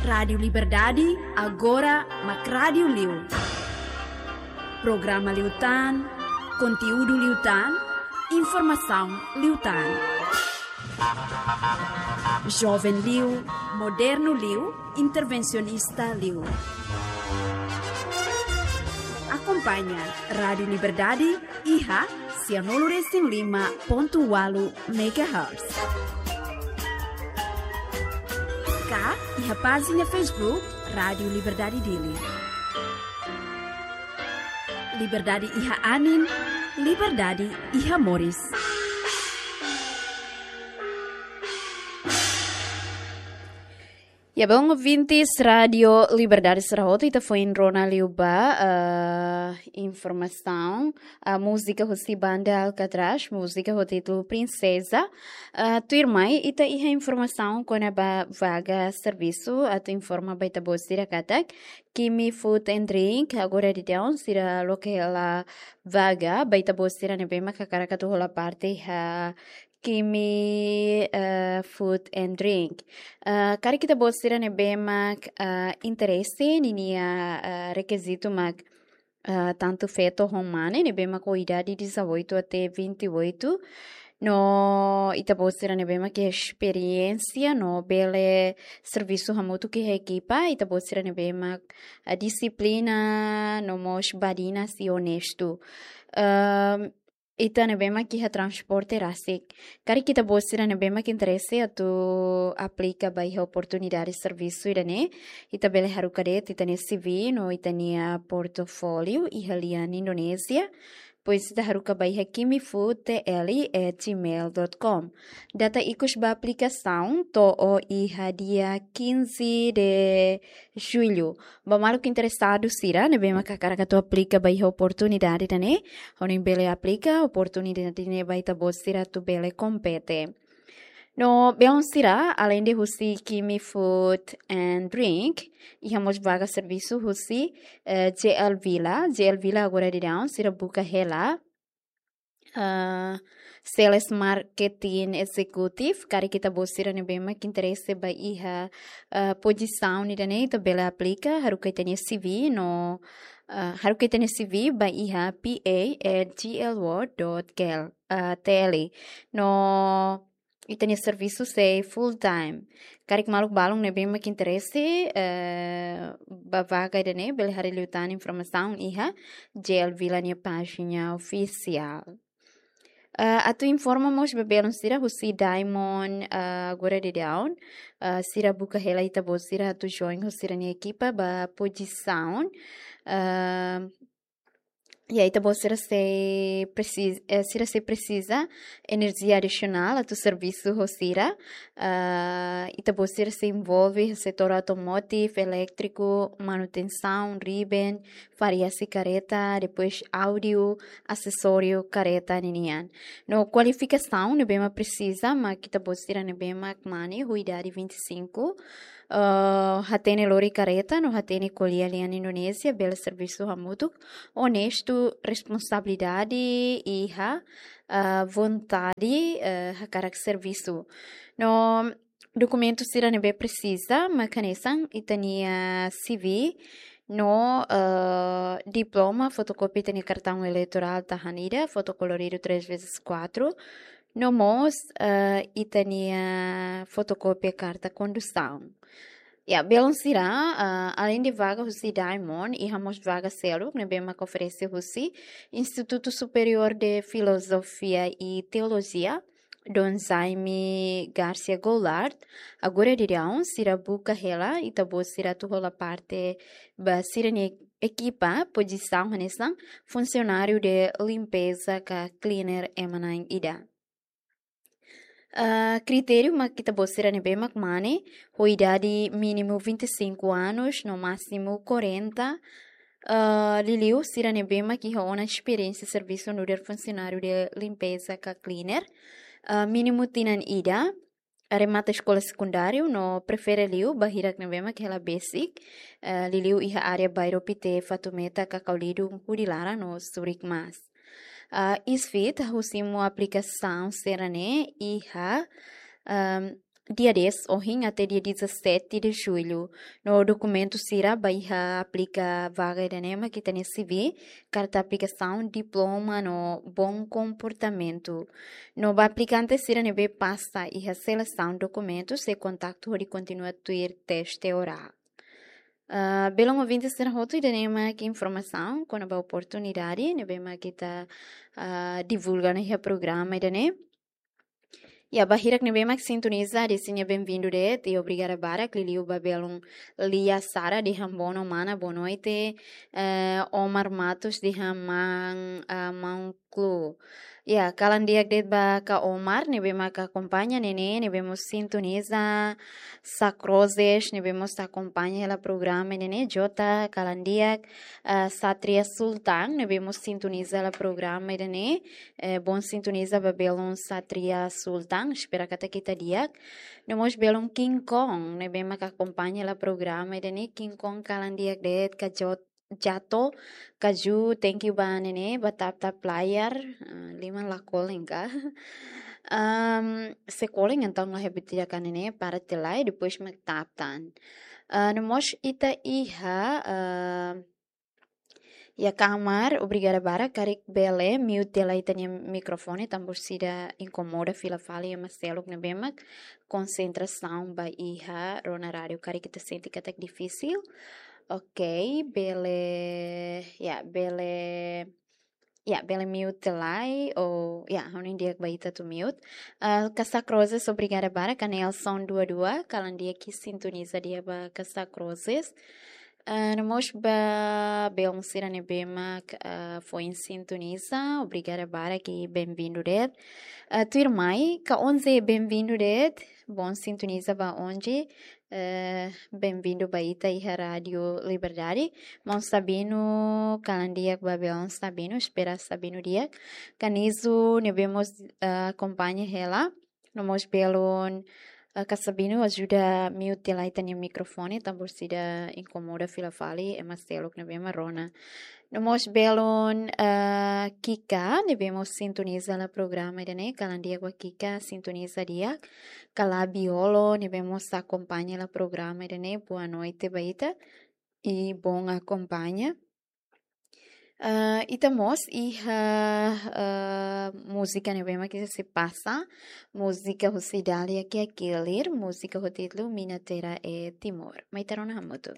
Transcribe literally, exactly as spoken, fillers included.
Rádiu Liberdade, agora mak rádiu liu. Programa liután, konteúdu liután, informasaun liután. Joven liu, modernu liu, intervensionista liu. Akompaña Rádiu Liberdade iha sianulu resin lima pontu ualu megahertz. Ka iha pájina Facebook Rádiu Liberdade Dili. Liberdade iha anin, liberdade iha moris. Ya, bom, ouvintes, Rádiu Liberdade sira hotu, ita foin rona liu ba, eh, informasaun, eh, múzika husi banda Alcatraz, múzika ho títulu Princesa. Eh, tuirmai, ita iha informasaun kona-ba vaga servisu, atu informa ba ita-boot sira katak Kimi Food and Drink, agora daudaun sira loke hela vaga ba ita-boot sira ne'ebé mak hakarak atu hola parte iha Kimi, eh, Food and Drink. Eh, karik ita-boot sira ne'ebé mak, eh, interese, ninia, eh, rekizitu mak, eh, tantu feto ho mane, ne'ebé mak ho idade dezoito até vinte e oito. No ita-boot sira ne'ebé mak iha esperiénsia, no bele servisu hamutuk iha ekipa, ita-boot sira ne'ebé mak, eh, dixiplina, no mós badinas i onestu. Ehm, ita ne'ebé mak iha transporte rasik. Karik ita-boot sira ne'ebé mak interese atu aplika ba iha oportunidade servisu ida-ne'e, ita bele haruka de'it ita-nia C V no ita-nia portfólio iha lian Indonézia. Depois ita haruka ba iha kimi food T L at gmail dot com. Data ikus ba aplikasaun to'o iha dia quinze de julho. Ba maluk interesadu sira ne'ebé mak hakarak atu aplika ba iha oportunidade ida-ne'e, hodi bele aplika oportunidade ne'e ba ita-boot sira atu bele kompete. No belun sira, alende husi Kimi Food and Drink, iha mós vaga servisu husi, eh, J L Villa. J L Villa agora daudaun sira buka hela, eh, Sales Marketing Executive, karik ita-boot sira ne'ebé mak interese ba iha, eh, pozisaun ida-ne'e, ita bele aplika, haruka ita-nia C V no, eh, haruka ita-nia C V ba iha P A at G L world dot K L, eh, T L. No ita-nia servisu sei full time. Karik maluk balun ne'ebé mak interese, eh, ba vaga ida-ne'e, bele haree liután informasaun iha J L Villa nia pájina ofisiál. Eh, atu informa mós ba belun sira husi Diamond, eh, agora daudaun, eh, sira buka hela ita-boot sira atu join ho sira-nia ekipa ba pozisaun, eh, ya, ita-boot sira sei presiza, eh, sira sei presiza enerjia adisionál atu servisu ho sira. Eh, ita-boot sira sei envolve setór automotive, elétriku, manutensaun, riben, variasi karreta, depois áudiu, asesóriu karreta ninian. No kualifikasaun ne'ebé mak presiza, mak ita-boot sira ne'ebé mak mane ho idade vinte e cinco, eh, hatene lori karreta, no hatene ko'alia lian Indonézia, bele servisu hamutuk, onestu, responsabilidade, iha, eh, vontade, eh, hakarak servisu. No dokumentu sira ne'ebé presiza, mak hanesan ita-nia C V, no, eh, diploma, fotokópia ita-nia kartaun eleitorál tahan ida, fotokoloridu três vezes quatro, no mós, eh, ita-nia fotokópia karta kondusaun. Ya, belun sira, eh, alende vaga husi Diamond, iha mós vaga seluk ne'ebé mak oferese husi Instituto Superior de Filosofia e Teologia, Dom Jaime Garcia Goulart, agora daudaun sira buka hela ita-boot sira atu hola parte ba sira-nia ekipa, pozisaun hanesan funsionáriu de limpeza ka cleaner ema na'in ida. Ah, kritériu mak ita-boot sira ne'ebé mak mane ho idade mínimu vinte e cinco anos no másimu quarenta. Ah, liuliu sira ne'ebé mak iha ona esperiénsia servisu nu'udar funsionáriu de limpeza ka cleaner. Ah, mínimu tinan ida, remata eskola sekundáriu no prefere liu ba hirak ne'ebé mak hela basic, eh, liuliu iha área bairru Pité, Fatumeta, Cacau Ledo, Hudillara no Zurich Mas. Ah, isfit, husi mo aplikasaun sira-ne'e iha, ehm, dia dez ohin até dia dezassete de julho. No dokumentu sira ba iha aplika vaga ida-ne'e mak ita-nia C V, karta aplikasaun, diploma no bom komportamentu. No ba aplikante sira ne'ebé pasa iha selesaun dokumentu sei kontaktu hodi kontinua tuir teste orál. Ah, belun ouvinte sira hotu, ida-ne'e mak informasaun kona-ba oportunidade ne'ebé mak ita, ah, divulga ona iha programa ida-ne'e. Ya, ba hirak ne'ebé mak sintoniza, desinya benvindu de'it i obrigada barak, liuliu ba belun Lia Sara dehan bono mana, boa noite, eh, Omar Matos dehan man, ah, man klu. Ya, kalan di'ak de'it ba Ka Omar ne'ebé mak akompaña, Nene ne'ebé mós sintoniza, Sa Crozes ne'ebé mós akompaña hela programa, Nene Jota, kalan di'ak, ah, Satria Sultan ne'ebé mós sintoniza hela programa, Nene, eh, bom sintoniza ba belun Satria Sultan, espera katak ita di'ak. No mós belun King Kong ne'ebé mak akompaña hela programa ida-ne'e, King Kong kalan di'ak de'it, Ka Jot-, Jato, Kaju, thank you ba Nene, ba tap-tap layar, ah, liman la kolen ka? Am, se kolen entaun la hebat tidak ka Nene, para tiha lai, depois mak tap tan. Ah, no mós ita iha, ah, Ya, Ka Omar, obrigada barak, karik bele mute tiha lai ita-nia mikrofone, tanba orsida inkomoda fila fali ema seluk ne'ebé mak konsentrasaun ba iha rona rádiu, karik ita sente katak difisil. Ok, bele, ya, bele, ya, bele mute tiha lai, ou, ya, ha'u hanoin di'ak ba ita atu mute. Ah, Ka Sa Crozes, obrigada barak, Ka Nelson dua dua, kalan di'ak, sintoniza di'ak ba Ka Sa Crozes. Ah, no mós ba belun sira ne'ebé mak, ah, foin sintoniza, obrigada barak i benvindu de'it. Ah, tuirmai, Ka Onze, benvindu de'it, bom sintoniza ba Onze, eh, benvindu ba ita iha Rádiu Liberdade. Maun Sabino, kalan di'ak ba belun Sabino, espera Sabino di'ak. Ka Nizu ne'ebé mós, ah, akompaña hela. No mós belun, eh, Ka Sabino, ajuda mute tiha lai ita-nia mikrofone, tanba orsida inkomoda fila fali ema seluk ne'ebé mak rona. No mós belun, eh, Kika, ne'ebé mós sintoniza hela programa ida-ne'e, kalan di'ak ba Kika, sintoniza di'ak. Ka Labiolo, ne'ebé mós akompaña hela programa ida-ne'e, boa noite ba ita. I bom akompaña. Ah, ita mós iha, ah, múzika ne'ebé mak ita sei pasa, múzika husi Dália Kiakilir, múzika ho títulu Mina Tera e Timor. Mai ita rona hamutuk.